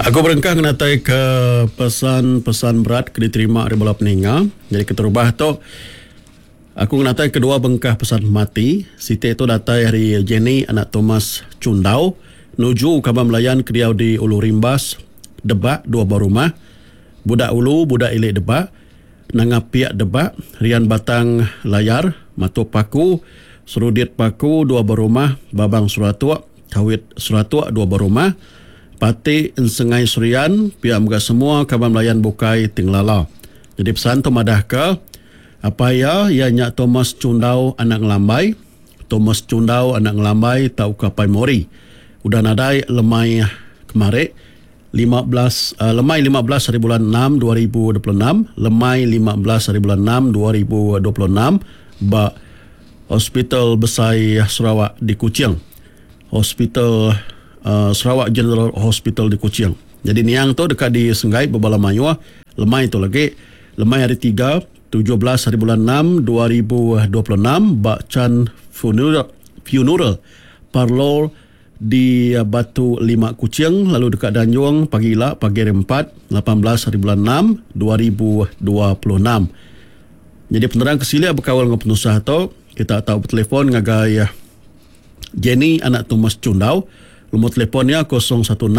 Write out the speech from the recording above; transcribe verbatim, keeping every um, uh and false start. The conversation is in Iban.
Aku berengkah ngenataika pesan-pesan berat ke diterima ari bala peninga. Nyadi keterubah tu, aku ngenataika dua bengkah pesan pemati. Siti tu datai ari Jenny anak Thomas Chundau nuju kaban belayan ke diau di Ulu Rimbas, Debak, dua buah rumah, Budak Ulu, Budak Ili Debak, Nanga Piak Debak, Rian Batang Layar, Matup Paku, Serudit Paku, dua buah rumah, Babang Seratuk, Kawit Seratuk, dua buah rumah, Pati Ensengai Serian, pia mega semua kaban belayan bukai ti ngelala. Nyadi pesan tu madahka, apai iya, iya nya Thomas Chundau anak Ngelambai, Thomas Chundau anak Ngelambai tauka Apai Mori, udah nadai lemai kemari, lima belas lemai lima belas hari bulan enam dua ribu dua puluh enam, lemai lima belas hari bulan enam dua ribu dua puluh enam ba Hospital Besai Sarawak di Kuching. Hospital Sarawak General Hospital di Kuching. Nyadi niang tu deka disenggai bebala mayuh lemai tu lagi, lemai hari tiga, tujuh belas hari bulan enam dua ribu dua puluh enam ba Chan Funeral Funeral Parlour di Batu Lima Kuching lalu deka dianjung pagi ila pagi hari empat, lapan belas hari bulan enam dua ribu dua puluh enam. Nyadi penerang ke silik bekaul enggau penusah tu, kita tau betelefon ngagai Jenny anak Thomas Chundau. Lumur telefon iya kosong satu enam